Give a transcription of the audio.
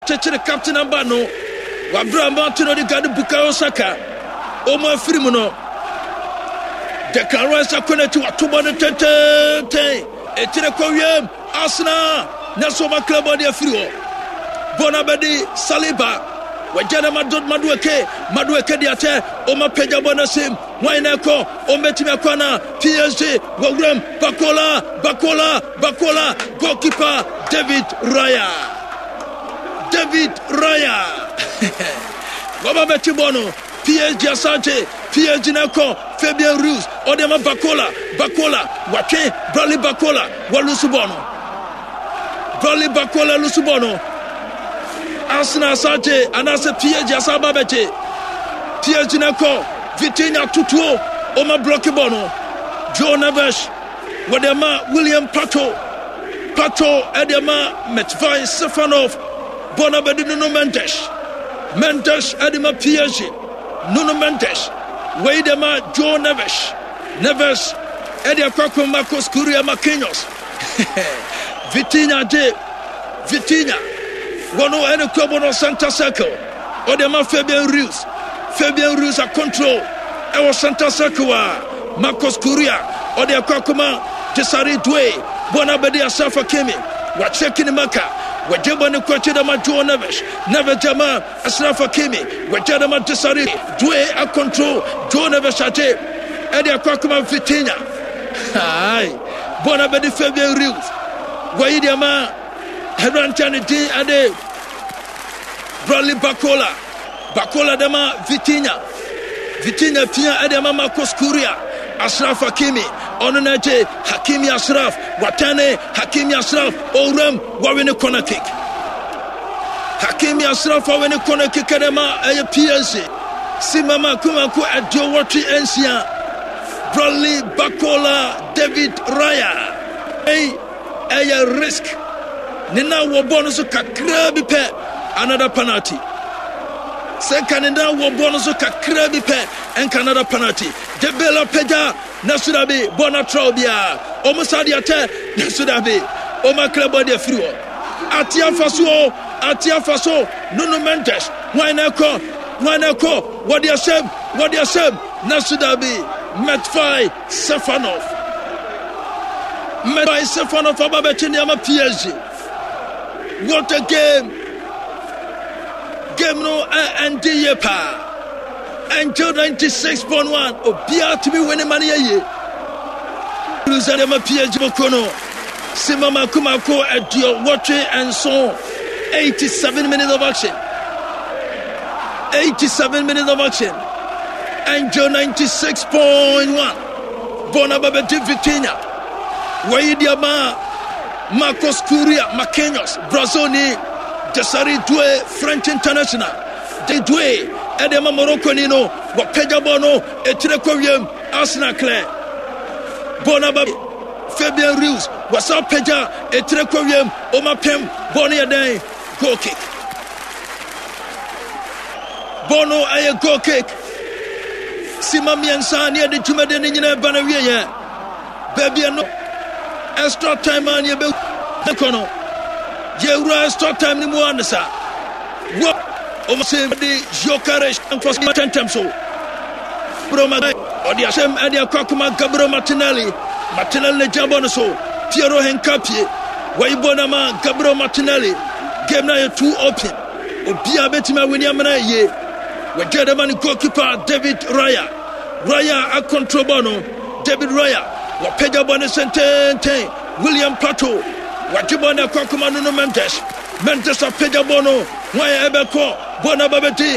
Kyekyere captain aba no wabra Martin Odegaard Bukayo Saka wɔn afiri mu no. Declan Rice akɔ n'akyi wato bɔ no tɛntɛntɛn etire kɔ wiem Arsenal na so wɔn akra bɔ de afiri hɔ. Bɔ no abɛdi Saliba wagya na Madueke Madueke de akyɛ wɔn apagya bɔ no asim. Hwan na ɛkɔ? Ɔmbɛtumi akɔ anaa? PSG wɔ wuram. Bakola, Bakola, Bakola. Goalkeeper David Raya. David Raya. Wɔba bɛkye bɔɔl no. PSG Asante. PSG na ɛkɔ. Fabian Ruiz. Ɔde ama Bakola. Bakola. Watwe Bradley Bakola. Walusu bɔɔl no. Bradley Bakola lusu bɔɔl no. Arsenal Asante anaasɛ PSG asan ba bɛgye. PSG na ɛkɔ. Vitinha tutuo ɔma blɔki bɔɔl no. Joe Neves wɔde ama William Pacho. Pacho ɛde ama Matvei Stefanov. Bɔɔl no abɛdi Nuno Mendes. Mendes ɛde ma PSG. Nuno Mendes wei de ma Joe Neves. Neves ɛde akɔ akɔ Marcos Curia Marquinhos. Vitinha gye Vitinha wɔn ɛne kuabo no center circle ɔde ma Fabian Ruiz Fabian Ruiz a control ɛwɔ center circle a Marcos Correa ɔde akɔ akɔma Desiree Due bɔ no abɛde Asaf Hakimi wakyerɛ Kinimaka wɔgye bɔ ne kɔ akyi dama Joao Neves Neves gyama Ashraf Hakimi wɔgya dama Desiree Due a control Joao Neves agye ɛde akɔ akɔma Vitinha Hai bɔ no abɛde Fabian Ruiz wɔyi deɛ ma aberanteɛ ne din ɛde Bradley Bakola Bakola de ma Vitinha Vitinha pia ɛde ma Marcos Curia Ashraf Hakimi ɔno na agye Hakimi Ashraf watɛne Hakimi Ashraf owuram wɔwe ne corner kick Hakimi Ashraf awe ne corner kick ɛde ma ɛyɛ PSG si mama kumako 86 Bradley Bakola David Raya ɛyi ɛyɛ risk ne nan wɔ bɔɔl no so kakraa bi pɛ another penalty sɛ nka ne nan wɔ bɔɔl no so kakraa bi pɛ nka another penalty Dembele apagya na so dabi bɔɔl no atra obiara wɔn sa de akyɛ na so dabi wɔn akra bɔɔl de afiri hɔ ate afa so o ate afa so Nuno Mendes wɔn na ɛkɔ wɔn na ɛkɔ wɔde ahyɛm wɔde ahyɛm na so dabi Matvei Stefanov Matvei Stefanov aba bɛkye nneɛma PSG what a game game no ɛnde yie paa Angel 96.1 obiara tumi wene ma no yɛ yie Lusa nneɛma PSG bɔkɔ no sima mako mako 87 87 minutes of action 87 minutes of action Angel 96.1 bɔɔl no aba bɛgye Vitinha wɔyi de ama Marcos Curia Marquinhos Brazil ni Desiree Due French international de Due ɛde ama Morocco ni no wɔpagya bɔɔl no etire kɔ wiem Arsenal clear bɔɔl no aba Fabian Ruiz wɔsan pagya etire kɔ wiem ɔma pɛm bɔɔl no yɛ dɛn goal kick Bɔɔl no ɛyɛ goal kick. Sima mmiɛnsa ne yɛde dwumadi no nyinaa ba no wieɛ. Baabi ɛno extra time a ne yɛbɛkɔ no. Yɛwura extra time no mu a ne sa. Wɔ ɔmo se de Gyökeres nkɔ tɛntɛm so. Broma ɔde ahyɛm ɛde akɔ akoma Gabriel Martinelli. Martinelli ne gya bɔ no so. Piero Hincapié wɔyi bɔ no ama Gabriel Martinelli. Game no ayɛ too open. Obiara bɛtumi awini amena yie. Wɔgya dɛm ne goalkeeper David Raya. Raya akontrol bɔɔl no. David Raya wɔpagya bɔɔl no sɛntɛntɛn. William Pacho wɔagye bɔɔl no akɔ akoma Nuno Mendes. Mendes apagya bɔɔl no. Hwan ɛbɛkɔ? Bɔɔl no aba bɛdi.